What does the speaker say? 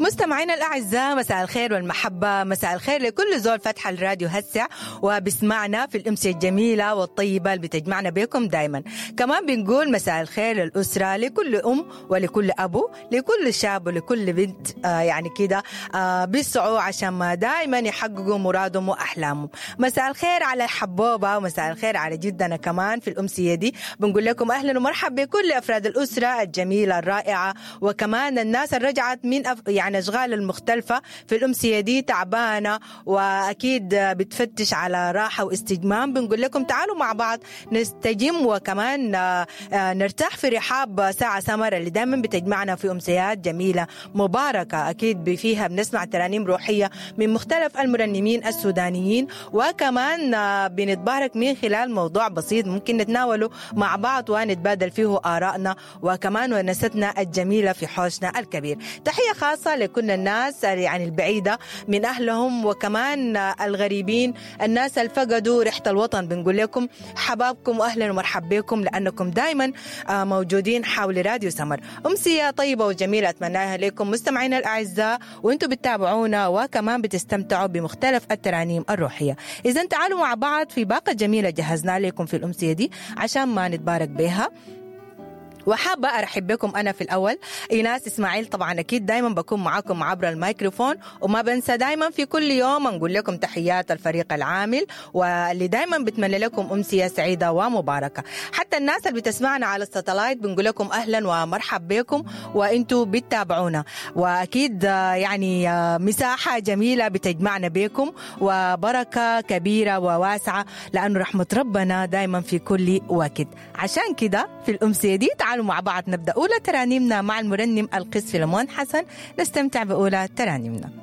مستمعينا الأعزاء، مساء الخير والمحبة، مساء الخير لكل زول فتح الراديو هسه وبسمعنا في الأمسية الجميلة والطيبة اللي بتجمعنا بكم دايما. كمان بنقول مساء الخير للأسرة، لكل أم ولكل أبو، لكل شاب ولكل بنت، يعني كده بيسعوا عشان ما دايما يحققوا مرادهم وأحلامهم. مساء الخير على الحبوبة ومساء الخير على جدنا كمان في الأمسية دي. بنقول لكم أهلا ومرحبا بكل أفراد الأسرة الجميلة الرائعة، وكمان الناس اللي رجعت من يعني أشغال المختلفة في الأمسية دي تعبانة وأكيد بتفتش على راحة واستجمام. بنقول لكم تعالوا مع بعض نستجم وكمان نرتاح في رحاب ساعة سمر اللي دايما بتجمعنا في أمسيات جميلة مباركة، أكيد فيها بنسمع ترانيم روحية من مختلف المرنمين السودانيين، وكمان بنتبارك من خلال موضوع بسيط ممكن نتناوله مع بعض ونتبادل فيه آرائنا وكمان ونستنا الجميلة في حوشنا الكبير. تحية خاصة لكل الناس يعني البعيدة من أهلهم وكمان الغريبين، الناس اللي فقدوا ريحة الوطن. بنقول لكم حبابكم وأهلا ومرحبا بكم، لأنكم دايما موجودين حول راديو سمر. أمسية طيبة وجميلة أتمناها لكم مستمعينا الأعزاء، وأنتم بتتابعونا وكمان بتستمتعوا بمختلف الترانيم الروحية. إذا تعالوا مع بعض في باقة جميلة جهزنا لكم في الأمسية دي عشان ما نتبارك بها. وحابة أرحب بكم أنا في الأول إيناس إسماعيل، طبعا أكيد دايما بكون معاكم عبر الميكروفون، وما بنسى دايما في كل يوم نقول لكم تحيات الفريق العامل واللي دايما بتمنى لكم أمسية سعيدة ومباركة. حتى الناس اللي بتسمعنا على الستلايت بنقول لكم أهلا ومرحب بكم وإنتوا بتتابعونا، وأكيد يعني مساحة جميلة بتجمعنا بكم وبركة كبيرة وواسعة، لأنه رحمة ربنا دايما في كل وقت. عشان كده في الأمسية دي تعالوا مع بعض نبدأ أولى ترانيمنا مع المرنم القس فيلمون حسن، نستمتع بأولى ترانيمنا.